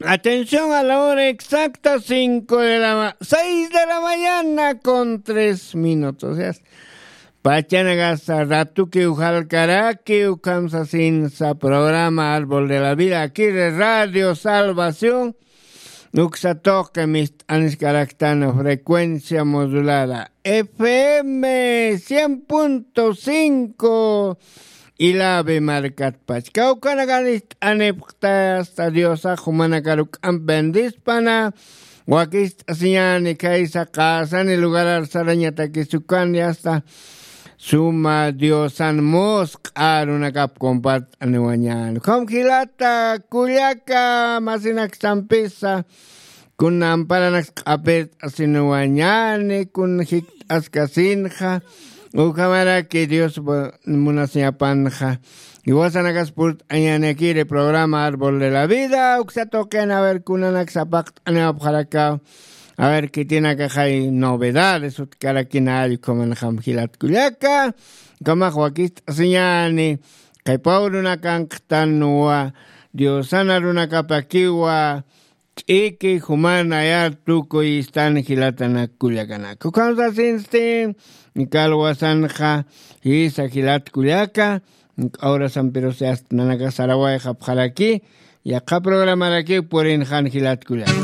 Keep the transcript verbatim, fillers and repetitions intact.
Atención a la hora exacta, cinco de la ma-, seis de la mañana con tres minutos. Ya está. Pachanakasa ratukiw jalkarakiw, kamsasinsa programa Árbol de la Vida, aquí de Radio Salvación. Uksa tuqi mist'aniskaraktan frecuencia modulada F M cien punto cinco. Ilabe markatpach kawkanakan ist'anipxta, hasta Diosax jumanakar juk'amp bendispana. Wakist'asiñani khaysa qasani lugarar sarañatakisukan, hasta suma Diosan musq'a arunakap compart'aniwañani. Ukham jilata kullaka masinaksampisa, kun amparanaks q'apirt'asinuwañani, kun jikt'askasinxa, ukhamaraki Dios bu-, munasiñapanxa. Iwasanakas purt'añanakiri programa Árbol de la Vida, uksa tuqin, a ver, kunanaks apaqt'aniwapxarakaw. A ver, khitinakaxay novedades utkarakina allkumanxam jilat kullaka. Ukhamax wakist'asiñani, qhipaw runakanqtanwa, Diosana runakapakiwa, ch'iki jumanayar tukuy istan jilatanak kullakanak. Ukham sasinsti, kalwasanxa, jisa jilat kullaka, k'awrasampirusi ast nanaka sarawayxapxaraki, yaqha programarakiw purinxan jilat kullaka.